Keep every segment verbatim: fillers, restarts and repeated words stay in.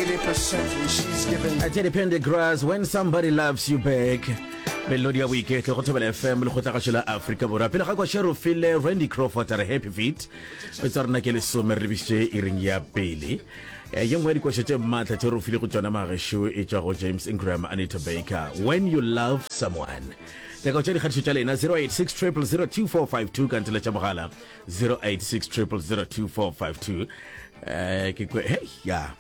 eighty percent and she's giving. Teddy Pendergrass, When Somebody Loves You Back. Melodi ya boiketlo go Thobela F M, lekgotlagašo la Afrika Borwa. Pele ga kwa re file Randy Crawford a re Happy Feet. Metsa rena ke lesome re lebišitše iring ya pele. Eh, ye nngwe ya dikoša tše maatla tše re file go tšona magešo e tšwa go James Ingram, Anita Baker, When You Love Someone. Nyaka tša dikgatišo tša lena zero eight six zero zero zero two four five two, ka ntele tša mogala zero eight six zero zero zero two four five two. Eh, ke kwe hey ya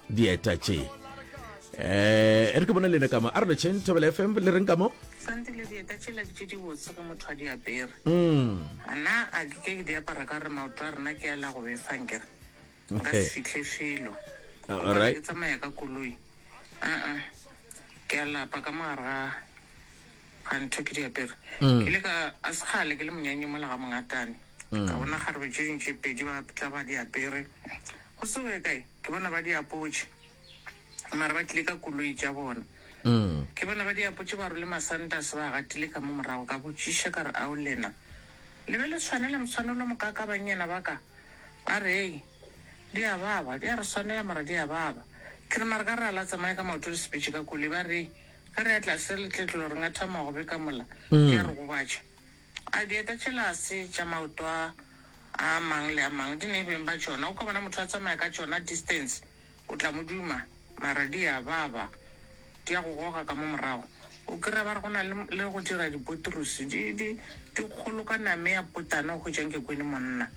dieta tše, eh e re ke bone lena ka mo a re letšheng Thobela F M le reng ka mo. Santile, dieta tšela ke tše dibotse ge motho a di apere. Mm. Nna a ke ke di apara ka gore maoto a rena ke a la go befa, nkere nka se fihle felo. Alright. Ke tsamaya ka koloi, aa, ke a lapa ka mogare ga ga ntho ke di apere. Mm. Ke ile ka a sekgale ke le monyanye mola ga mongatane, ka bona kgarebe tše dingwe tše pedi ba tla ba di apere. Go se go ye kae ke bona ba di apotše, mara ba tlile ka koloi tša bona. Mm. Ke bona ba di apotše, ba rwele masantase, ba gatile ka mo morago. Ka botšiša ka re, ao lena le be le tshwanela motshwanelo mokaka bannyana ba ka? Ba re, ei, di a baba, di a re swanela, mara di a baba. Ke re, mara ka re a la tsamaya ka maoto le sepetše ka koloi? Ba re, ge re ya tlase le tletlo re ngatha magobe ka mola, di a re gobatša. A dieta tšela se tša maoto a a mang le a mang, di ne beng ba tšona. O ka bona motho a tsamaya ka tšona distance, o tla mo duma, mara di a baba, di a go goga ka mo morago. O kry-a ba re go na le le go dira dipotrosi di di di kgolo ka name ya potana, o hwetšang ke kwene monna.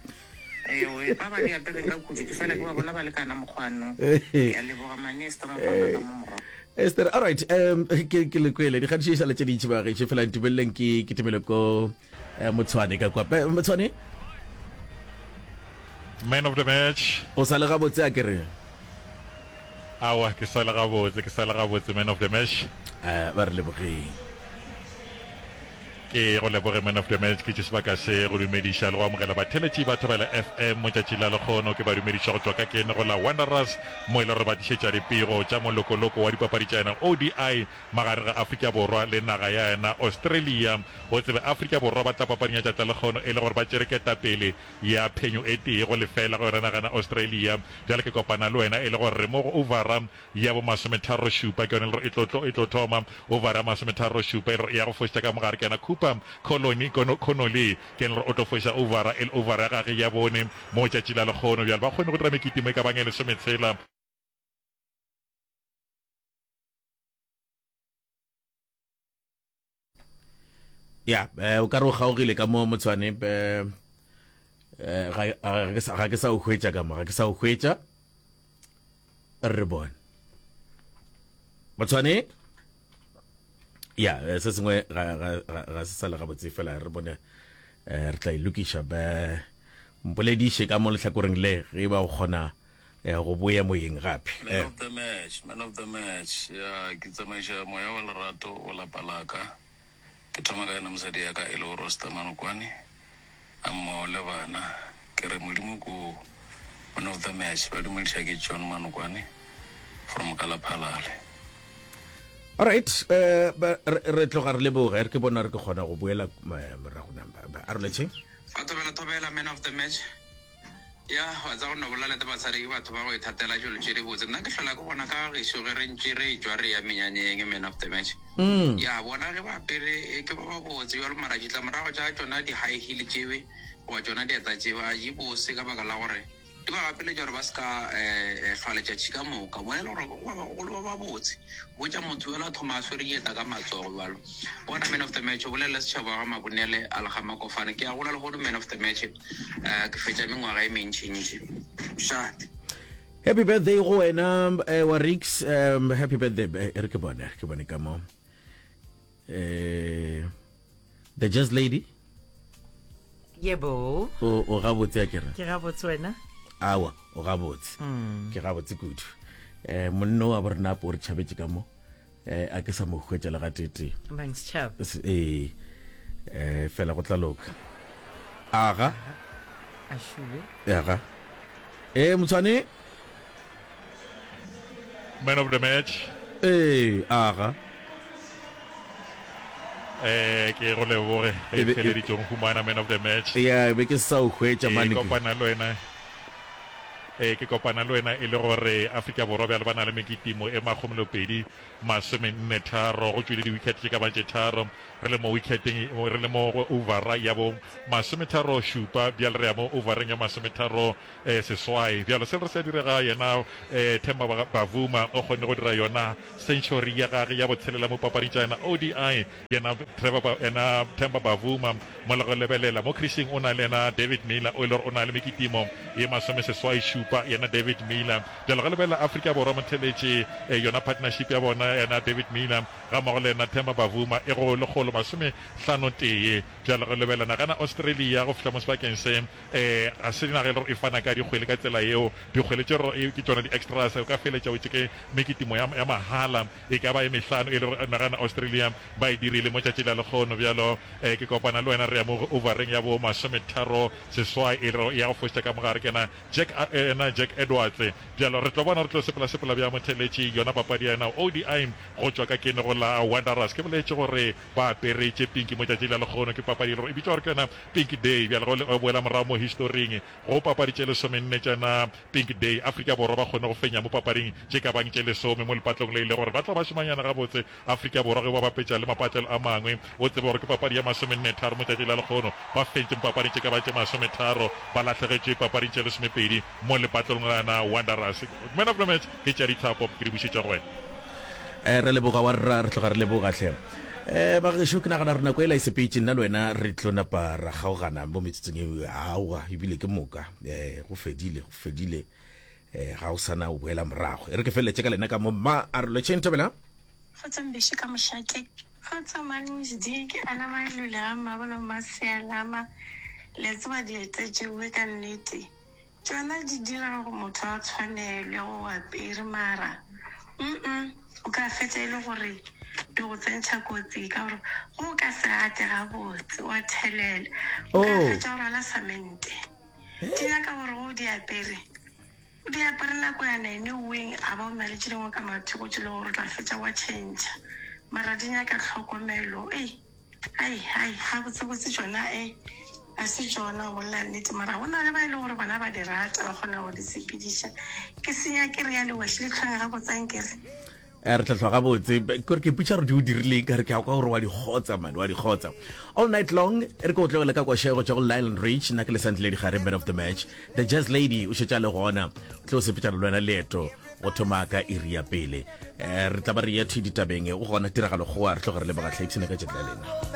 Ewe, ba ba di apereng ka kudu ke fela ke ba bona ba lekana mokgwanong. Ke a leboga, manesta mokgwana ka mo morago. Esther, all right, um ke ke le kwele dikgatišo e sa le tše dintši bagešo, fela ntumeleleng ke ke timele ko eh, Motshwane ka kwa. Eh, Motshwane. Man of the match. O sa le gabotse a ke re? Awa, ke sa le gabotse, ke sa le gabotse, man of the match. Eh, ba re lebogeng. Ke go leboge, man of the match. Ke tše sebaka se go dumediša le go amogela batheletši ba Thobela F M motšatši la lekgono. Ke ba dumediša go tšwa ka kene go la Wanderers, mo e le gore ba tlišetša dipego tša molokoloko wa dipapadi tša yena O D I magareng ga Afrika Borwa le naga ya yena Australia. O tsebe Afrika Borwa ba tla papading ya tšatla lekgono e le gore ba tšere ketapele ya phenyo e tee go lefela go yona naga ya Australia. Bjale ke kopana le wena e le gore re mo go overa ya bo masometharo šupa, ke yone e le gore e tlo tlo e tlo thoma overa ya masometharo šupa, e le gore e ya go fošetša ka mogare ke yena Cooper Colony Connolly, ke yena e le gore o tlo foša overa e le overa ya gage ya bone mo tšatši la lekgono. Bjale ba kgone go dira mekitimo e ka bang e lesometshela. Ya, eh, o ka re o kgaogile ka mo Motshwane, eh, eh, ga ga ke sa- ga ke sa o hwetša ka mo, ga ke sa o hwetša. Re bone Motshwane. Ya, eh, se sengwe ga ga ga ga se sa le gabotse, fela re bone, eh, re tla e lokiša. Ba mpolediše ka mo lehlakoreng le ge ba o kgona eh, go boya moyeng gape. Man eh. of the match, man of the match. Ya, ke tsamaiša moya wa lerato go lapa la ka. Ke thoma ka yena mosadi ya ka e lego Rosta Manokwane, a mmogo le bana. Ke re Modimo ko man of the match. Ba dumediša ke John Manokwane from Kalaphalale. Alright, eh, ba- re re tloga re leboga. Re ke bona re ke kgona go boela eh, morago na ba- a re letšheng. Fa thobela, thobela, man of the match. Ya wa tsa go no bolela le basadi ke batho ba go ithatela dilo tše dibotse. Nna ke hlola ke bona ka gešo ge re ntše re tšwa re ya menyanyeng, man of the match. Mm. Ya bona ge ba apere e ke ba ba botse bjalo, mara ditlamorago tša tšona di-high heel tšewe goba tšona dieta tšeo a di bose, ka baka la gore di ba gapeletša gore ba se ka um hlwa letšatši ka moka. Bona e le gore go ba bagolo ba ba botse, botša motho yola a thoma a swere dieta ka matsogo bjalo. Bona, man of the match, o bolelele setšhaba ga Mabonele a lega Makofane. Ke a gola lehono, man of the match, um ke fetša mengwaga e mentšintši. Šate. Happy birthday go wena, eh, wa Rix, um, happy birthday. Eh, re ke bone, ke bone ka mo eh the Jazz Lady. Yebo. O o gabotse a ke re? Ke gabotse, wena? Awa, o gabotse, ke gabotse kudu. eh monno wa borena apo o re tšhabetše ka mo, eh a ke sa mo hwetša le gatetee. Bang setšhaba. Se- ee eh fela go tla loka, aga. A šube. Aga, eh Motshwane. Man of the match. Ee, aga. Eh, ke go leboge E ge be- e- feleditšong humana man of the match. Ya, be ke sa o hwetša Ke mane ke kopana le wena. Eh, ke kopana le wena e le gore Afrika Borwa bjale ba na le mekitimo e makgomolopedi masomenne tharo, go tšwile di-wicket tše ka ba tše tharo, re le mo wicketeng, re le mo go overa ya bo masometharo šupa, bjale re ya mo overeng ya masometharo eh, seswai. Bjalo se re se direga yena eh, Themba Bavuma o kgonne go dira yona century ya gage ya botshelela mo papading tša yena O D I. Yena Trevor, yena Themba Bavuma mola go lebelela mo creasing o na le yena David Miller o e le gore o na le mekitimo ye masomeseswai šupa, yena David Miller. Bjalo ge lebelela Afrika Borwa motheletše eh, yona partnership ya bona yena David Miller ga mmogo le yena Themba Bavuma e go lekgolo masomehlano tee. Bjalo ge lebelela nagana Australia go fihla mo sebakeng se eh, ga se naga e le gore e fana ka dikgwele ka tsela yeo, dikgwele tše gore ke tšona di-extras, o ka feletša o tše ke mekitimo ya, ya mahala e ka ba e mehlano e le gore nagana Australia ba e dirile mo tšatši la lekgono. Bjalo eh, ke kopana le wena re ya mo overeng ya bo masometharo seswai e le ya go fošetša ka mogare ke yena Jack, yena Jack Edwards. Bjalo re tlo bona re tlo sepela sepela bja motheletši yona papadi ya yena O D I go tšwa ka kene go la Wanderers. Ke boletše gore ba apere tše pinki mo tšatši la lekgono, ke papadi e le gore e bitšwa gore ke yona Pink Day. Bjalo go le boela morago mo historing go papadi tše lesomenne tša yona Pink Day, Afrika Borwa ba kgonne go fenya mo papading tše ka bang tše lesome mo lepatlong le e le gore ba tla ba šomanyana gabotse Afrika Borwa ge ba bapetša le mapatlelo a mangwe. O tsebe gore ke papadi ya masomenne tharo mo tšatši la lekgono, ba fentše mo papading tše ka bang tše masometharo, ba lahlegetšwe papading tše lesomepedi mo lepatlelong la yona Wanderers. Man of the match ke tša dithapo, ke di bušetša go wena. Eh, re leboga wa rra, re tloga re leboga hle. Eh, bagešo, ke nagana gore nako ela e sepetše, nna le wena re tlo napa ra kgaogana mo metsotsong e aowa, ebile ke moka. Eh, go fedile, go fedile. Eh, ga o sana o boela morago. E re ke feleletše ka lena ka mo mma a re lotšheng thobela. Kgotsa Mbeši ka mošate. Kgotsa Malusi, ke ana Mailule ga Mmabolo Mmasealama. Le a tseba dieta tšeoe ka nnete tšona di dira gore motho a tshwanelwe go apere, mara mm o ka fetša e le gore di go tsentšha kotsi ka gore go o ka se gate gabotse wa thelela, o ka Oh. fetša go rwala samente. Di nyaka gore go o di apere, o di apere nako ya nine weng a ba o na le tše dingwe ka mathoko tše le gore o tla fetša wa tšhentšha, mara di nyaka tlhokomelo. Ei, ai, ai, gabotsebotse tšona e ga se tšona go bolela nnete, mara go na le ba e le gore bona ba di rata, ba kgona go di sepediša. Ke senya ke re ya lewešhe le tlhweng gabotse ankere. Eh, re tla hlwa gabotse. Kore ke ipotša gore di o dirileng, ka re ke a kwa gore wa di kgotsa man, wa di kgotsa all night long. E re ke o tlogele ka koša go tšwa go Lionel Rich. Nna ke Lesantile Digare, man of the match the jazz lady o šetša le gona, o tlo sepetšana le wena leeto go thoma ka iri ya pele. Eh, re tla ba re ya thwi ditabeng, o gona tiragalo goa, re tloge re leboga tlhaipshina ka tšatši la lena.